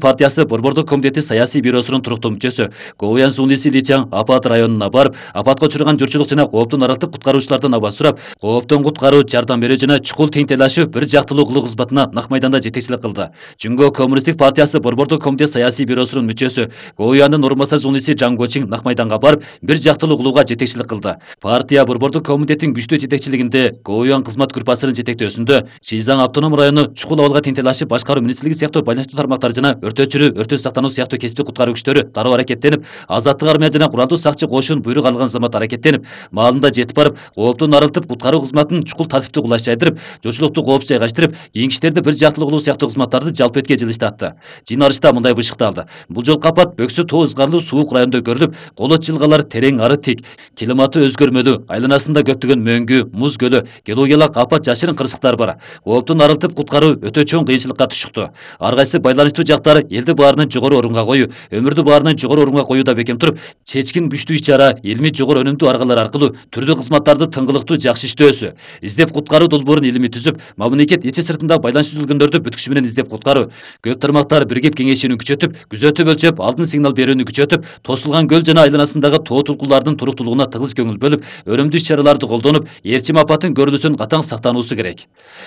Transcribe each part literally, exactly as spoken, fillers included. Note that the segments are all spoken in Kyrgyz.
партиясы Борбордук комитети саясий бюросунун туруктуу мүчөсү Говуян Сунлиси Личаң апат районуна барып, апатка учураган журтчулук жана кооптун аралтып куткаруучулардан аба сурап, кооптон куткаруу, жардам берүү жана чукул тең-тейлашуу бир жактылуу кылуу кызматына Нак майданда жетекчилик кылды. Жумго Коммунисттик партиясы Борбордук комитет саясий бюросунун мүчөсү Говуяндын орун басары Сунлиси Жаң Гочиң Нак майданга барып, бир жактылуу кылууга жетекчилик кылды. Партия Борбордук комитеттин күчтүү жетекчилигинде Говуян кызмат группасынын жетектөөсүндө Шизаң автоном району чукул абалга тең-тейлашып башкаруу министрлиги сыяктуу байланыштуу тармактар жана өртөөчүлүү, өрттөн сактануу сыяктуу кесиптик куткаруу күчтөрү дароо аракеттенип, азаттык армия жана куралдуу сакчы кошун буйрук алган замат аракеттенип, маалында жетип барып, кооптон арылтып куткаруу кызматын чукул тартиптүү кулаш жайдырып, журтчулукту коопсуз жайгаштырып, кийинки иштерди бир жактылуу кылуу сыяктуу кызматтарды жалпы этке жылыштатты. Жыйналышта мындай бышыкталды: бул жолку апат Бөксө тоо ызгарлуу суук районунда көрүлүп, Колот жылгалар терең ары тик, климаты өзгөрмөлүү, айланасында көптөгөн мөңгү, муз көлү, геологиялык апат жашырын кырсыктар бар. Кооптон арылтып куткаруу өтө чоң кыйынчылыкка түшүктү. Ар кайсы байланыштуу жактар элди баарынан жогору орунга коюу, өмүрдү баарынан жогору орунга коюуда бекем туруп, чечкин күчтүү иш-чара, илимий жогору өнүмдүү аргалар аркылуу түрдүү кызматтарды тыңгылыктуу жакшы иштөөсү, издеп куткаруу долбоорун илимий түзүп, мамлекет ичи сыртында байланыш түзүлгөндөрдү бүткүчү менен издеп куткаруу, көп тармактар биригип кеңешүүнү күчөтүп, күзөтүп өлчөп, алдын сигнал берүүнү күчөтүп, тосулган көл жана айланасындагы тоо тулкулардын туруктуулугуна тыгыз көңүл бөлүп, өнүмдүү иш-чараларды колдонуп, Ээрчим апаттын көрүлүүсүн катаң сактануусу керек.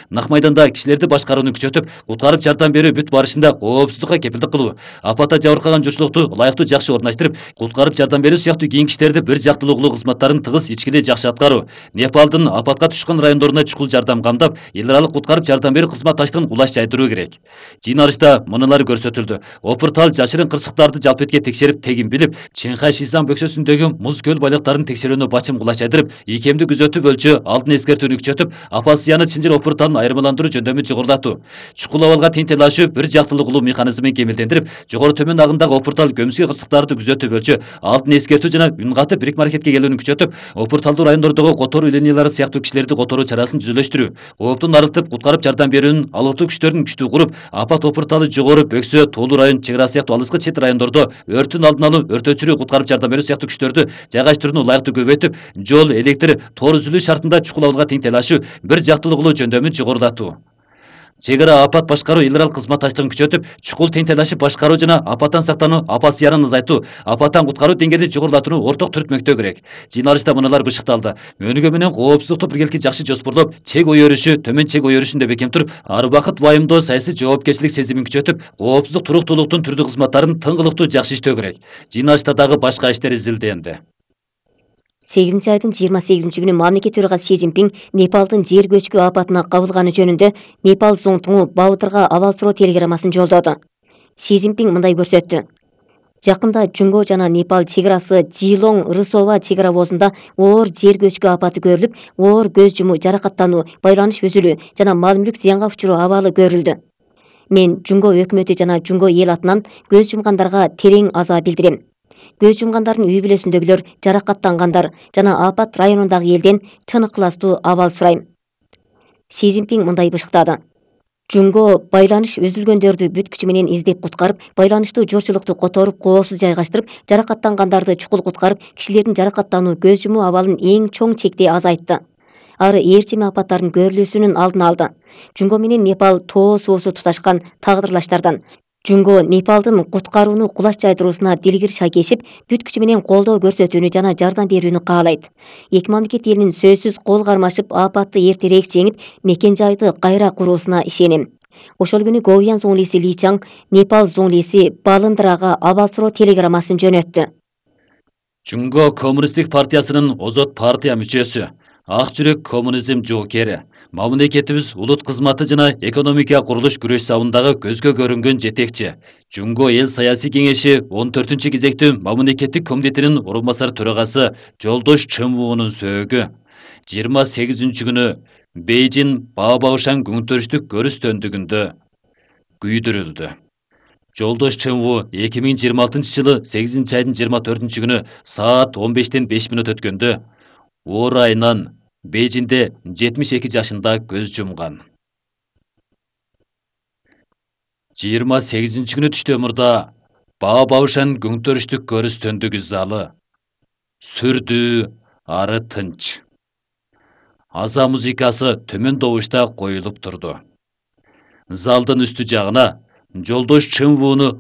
Нак майданда кишилерди башкарууну күчөтүп, куткарып жардам берүү бүт барышында коопсуздукка кепилдик кылуу, апатта жабыркаган журтчулукту ылайыктуу жакшы орундаштырып, куткарып жардам берүү сыяктуу кийинки иштерди бир жактылуу кылуу кызматтарын тыгыз ичкилей жакшы аткаруу, Непалдын апатка түшкөн райондоруна чукул жардам камдап, эл аралык куткарып жардам берүү кызматташтыгын кулаш жайдыруу керек. Жыйналышта мыналар көрсөтүлдү: опуртал жашырын кырсыктарды жалпы этке текшерип, тегин билип, Чыңхай Шизаң бөксөсүндөгү муз көл байлыктарын текшерүүнү бачым кулаш жайдырып, ийкемди күзөтүп өлчөө, алдын эскертүүнү күчөтүп, апат зыяны Чынжыр опурталын айырмаландыруу жөндөмүн жогорулатуу, чукул абалга тең-тейлашуу бир жактылуу кылуу механизмин кемелдендирип, жогору төмөн агымдагы опуртал көмүскө кырсыктарды күзөтүп өлчөө, алдын эскертүү жана үн катып бирикме аракетке келүүнү күчөтүп, опурталдуу райондордогу которуу линиялары сыяктуу кишилерди которуу чарасын түзүлүштүрүү, кооптон арылтып куткарып жардам берүүнүн алыктуу күчтөрүн күчтүү куруп, апат опурталы жогору Бөксө, Тоолуу район, Чек Ара сыяктуу алыскы чет райондордо өрттүн алдын алуу, өртөөчүлүү, куткарып жардам берүү сыяктуу күчтөрдү жайгаштырууну ылайыктуу көбөйтүп, жол, электр, тоор үзүлүү шартында чукул абалга тең-тейлашуу, бир жактылуу кылуу жөндөмүн жогорулатуу. Чек Ара апат башкаруу эл аралык кызматташтыгын күчөтүп, чукул тең-тейлашып башкаруу жана апаттан сактануу, апат зыянын азайтуу, апаттан куткаруу деңгээлин жогорулатууну орток түртмөктөө керек. Жыйналышта мыналар бышыкталды: өнүгүү менен коопсуздукту биргеликти жакшы жоспорлоп, чек ой өрүшү, төмөн чек ой өрүшүндө бекем туруп, ар убакыт байымдоо, саясий жоопкерчилик сезимин күчөтүп, коопсуздук туруктуулуктун түрдүү кызматтарын тыңгылыктуу жакшы иштөө керек. Жыйналышта дагы башка иштер изилденди. сегизинчи айдын жыйырма сегизинчи күнү мамлекет төрагасы Си Цзиньпин Непалдын жер көчкү апатына кабылганы жөнүндө Непал зоңтуңу Баатырга абал суроо телеграммасын жолдоду. Си Цзиньпин мындай көрсөттү: жакында Жумго жана Непал чек арасы Джилоң Рысова чек ара обозунда оор жер көчкү апаты көрүлүп, оор көз жумуу, жаракаттануу, байланыш үзүлүү жана мал мүлк зыянга учуруу абалы көрүлдү. Мен Жумго өкмөтү жана Жумго эл атынан көз жумгандарга терең аза билдирем. Көз жумгандардын үй бүлөсүндөгүлөр, жаракаттангандар жана апат районундагы элден чын ыкластуу абал сурайм. Си Цзиньпин мындай бышыктады: Жумго байланыш үзүлгөндөрдү бүт күчү менен издеп куткарып, байланыштуу журтчулукту которуп, коопсуз жайгаштырып, жаракаттангандарды чукул куткарып, кишилердин жаракаттануу, көз жумуу абалын эң чоң чекте азайтты. Ары ээрчим апаттардын көрүлүүсүнүн алдын алды. Жумго менен Непал тоо суусу туташкан тагдырлаштардан. Жумго Непалдын куткарууну кулаш жайдыруусуна дилгир шайкешип, бүт күчү менен колдоо көрсөтүүнү жана жардам берүүнү каалайт. Эки мамлекет элинин сөзсүз кол кармашып, апатты эртерээк жеңип, мекен жайды кайра куруусуна ишенем. Ошол күнү Говуян Сунлиси Личаң Непал зоңлиси Балындрага абал суроо телеграммасын жөнөттү. Жумго Коммунисттик партиясынын озот партия мүчөсү, ак жүрөк коммунизм жоокери, мамлекетибиз улут кызматы жана экономика курулуш күрөш сабындагы көзгө көрүнгөн жетекчи. Жумго эл саясий кеңеши он төртүнчү кезектүү мамлекеттик комитетинин орун басары төрагасы Жолдош Чымвуунун сөөгү жыйырма сегизинчи күнү Бейжин Баобаошан күнтөрүштүк көрүш төндүгүндө күйдүрүлдү. Жолдош Чымвуу эки миң жыйырма алтынчы жылы сегизинчи айдын жыйырма төртүнчү күнү саат он бештен беш мүнөт өткөндө оор айынан Бейжинде жетимиш эки жашында көз жумган. жыйырма сегизинчи күнү түштө мурда Баобаошан күнтөрүштүк көрүш төндүгү залы сүрдүү, ары тынч. Аза музыкасы төмөн добушта коюлуп турду. Залдын үстү жагына Жолдош Чымвууну